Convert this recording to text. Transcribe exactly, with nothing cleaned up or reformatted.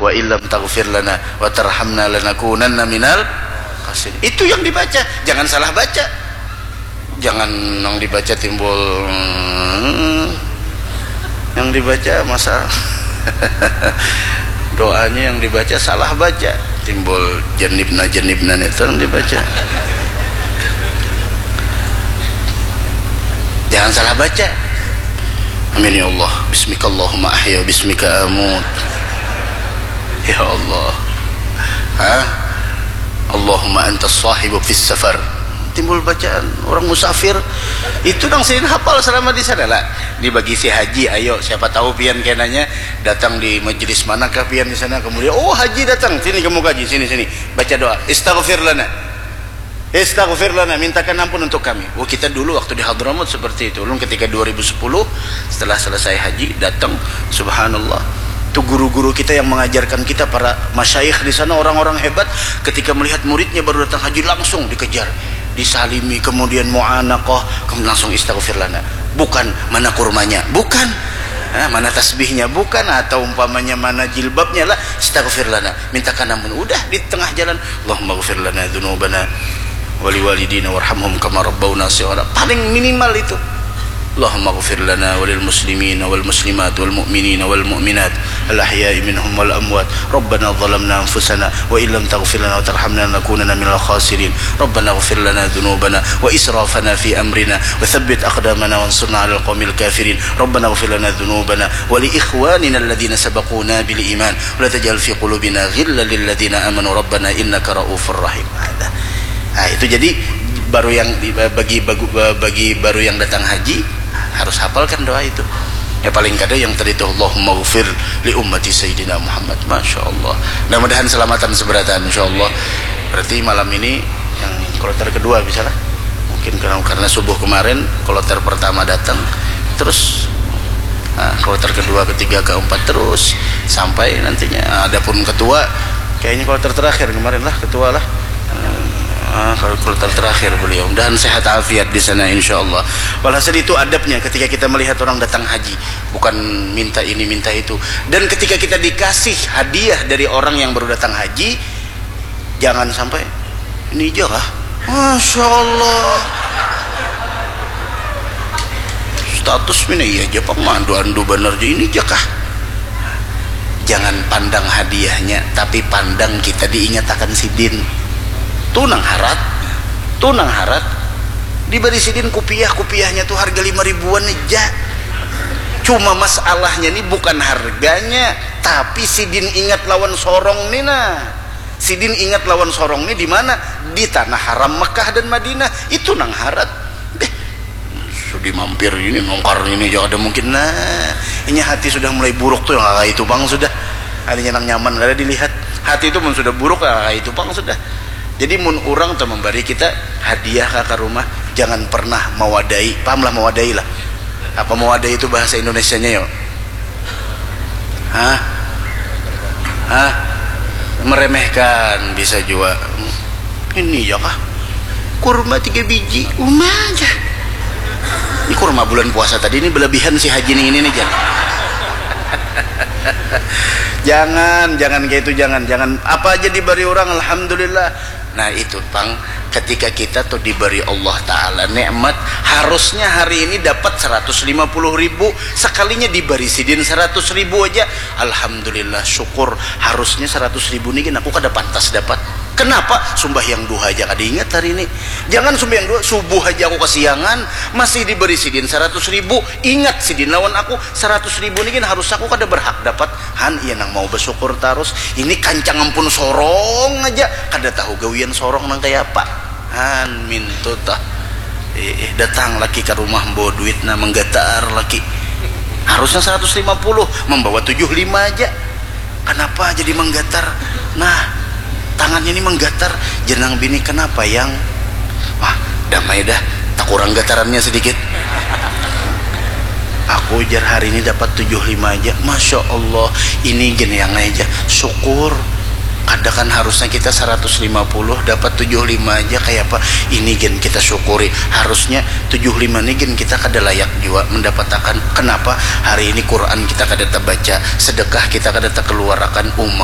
Wa illam taghfir lana wa tarhamna lanakunanna minal khasirin. Itu yang dibaca, jangan salah baca. Jangan yang dibaca timbul, hmm, yang dibaca masa doanya yang dibaca salah baca, timbul jenibna jenibna itu yang dibaca. Jangan salah baca. Amin ya Allah. Bismikallahumma ahya, bismika amut. Ya Allah. Hah? Allahumma antas sahibu fis safar. Timbul bacaan orang musafir. Itu nang sidin hafal selama di sana lah. Dibagi si haji, ayo siapa tahu pian kenanya datang di majelis manakah pian di sana, kemudian, oh, haji datang, sini kamu kaji, sini, sini, baca doa, istaghfir lana. Istaghfir lana, mintakan ampun untuk kami. Oh, kita dulu waktu di Hadramaut seperti itu. Ulun ketika dua ribu sepuluh, setelah selesai haji, datang, subhanallah. Itu guru-guru kita yang mengajarkan kita, para masyayikh di sana, orang-orang hebat, ketika melihat muridnya baru datang haji, langsung dikejar, disalimi, kemudian mu'anaqah, kemudian langsung istaghfir lana. Bukan mana kurmanya, bukan. Nah, mana tasbihnya, bukan, atau umpamanya mana jilbabnya lah, istaghfir lana, mintakan ampun. Udah di tengah jalan, Allahumma ghfir lana dzunubana wali walidina warhamhum kama rabbauna shighara. Paling minimal itu. Allahumma ghfir lana walil muslimina wal muslimat wal mu'minina wal mu'minat al ahya'i minhum wal amwat. Rabbana zalamna anfusana wa illam taghfir lana wa tarhamna lanakunanna minal khasirin. Rabbana ghfir lana dzunubana wa israfana fi amrina wa tsabbit aqdamana wansurna alal qaumil kafirin. Rabbana ghfir lana dzunubana wa li ikhwanina alladzina sabaquna bil iman wa la taj'al fi qulubina ghillan lil ladzina amanu rabbana innaka raufur rahim. Ada. Nah, itu jadi baru yang di- bagi bagu- bagi baru yang datang haji harus hafalkan doa itu. Ya, paling kada yang tadi itu, Allahumma ghfir li ummati sayyidina Muhammad. Masya Allah. Mudah-mudahan selamatan seberatan, insya Allah. Berarti malam ini yang kloter kedua bisa lah. Mungkin karena, karena subuh kemarin kloter pertama datang, terus, nah, kloter kedua, ketiga, keempat, terus sampai nantinya. Adapun ketua, kayaknya kloter terakhir kemarin lah, ketua lah. Ah, kalau kloter terakhir beliau. Mudahan sehat afiat di sana, insya Allah. Walhasil, itu adabnya ketika kita melihat orang datang haji, bukan minta ini minta itu. Dan ketika kita dikasih hadiah dari orang yang baru datang haji, jangan sampai, "Ini aja kah? Masya Allah, status mina iya aja pang, mandu andu banar aja, ini aja kah?" Jangan pandang hadiahnya, tapi pandang kita diingatakan sidin. Tu nang harat, tu nang harat. Dibari sidin kupiah, kupiahnya tu harga lima ribuan aja. Cuma masalahnya ni bukan harganya, tapi sidin ingat lawan sorong ni nah. Sidin ingat lawan sorong ni di mana? Di tanah haram Mekah dan Madinah. Itu nang harat. Deh, sudi mampir ini, nongkar ini aja kada mungkin. Nah, inya hati sudah mulai buruk tu, yang kayak itu pang sudah. Adanya nang nyaman kada dilihat. Hati itu mun sudah buruk, kayak itu pang sudah. Jadi mun urang tu membari kita hadiah ka, ka rumah, jangan pernah mawadai. Paham lah mawadai lah? Apa mawadai itu bahasa Indonesianya, yo? Hah? Hah? Meremehkan bisa jua. Ini ya kah? Kurma tiga biji, uma aja. Ini kurma bulan puasa tadi ini berlebihan si haji nih ini nih, jangan. Jangan, jangan kayak itu, jangan, jangan. Apa aja diberi orang, alhamdulillah. Nah, itu pang, ketika kita tuh diberi Allah Ta'ala nikmat, harusnya hari ini dapat seratus lima puluh ribu, sekalinya diberi sidin seratus ribu aja, alhamdulillah, syukur. Harusnya seratus ribu nih, aku kada pantas dapat. Kenapa? Sumbahyang duha aja kada ingat hari ini. Jangan sumbahyang duha, subuh aja aku kesiangan, masih diberi sidin seratus ribu. Ingat sidin lawan aku, seratus ribu nih harus aku kada berhak dapat. Han, iya nang mau bersyukur tarus. Ini kancang ampun sorong aja, kada tahu gawian sorong nang kaya apa. Han, mintu tah. Eh, eh, datang laki ke rumah membawa duit, nah, menggatar laki. Harusnya seratus lima puluh, membawa tujuh lima aja. Kenapa jadi menggatar? Nah, tangannya ini menggatar. Jenang bini, "Kenapa, Yang?" "Wah, damai dah, tak kurang gatarannya sedikit." Aku ujar hari ini dapat tujuh lima aja. Masya Allah, ini gini yang aja. Syukur. Kada kan harusnya kita seratus lima puluh, dapat tujuh lima aja, kayak apa? Ini gen kita syukuri. Harusnya tujuh lima ini gen kita kada layak jua mendapatakan. Kenapa? Hari ini Quran kita kada terbaca, sedekah kita kada terkeluarakan, uma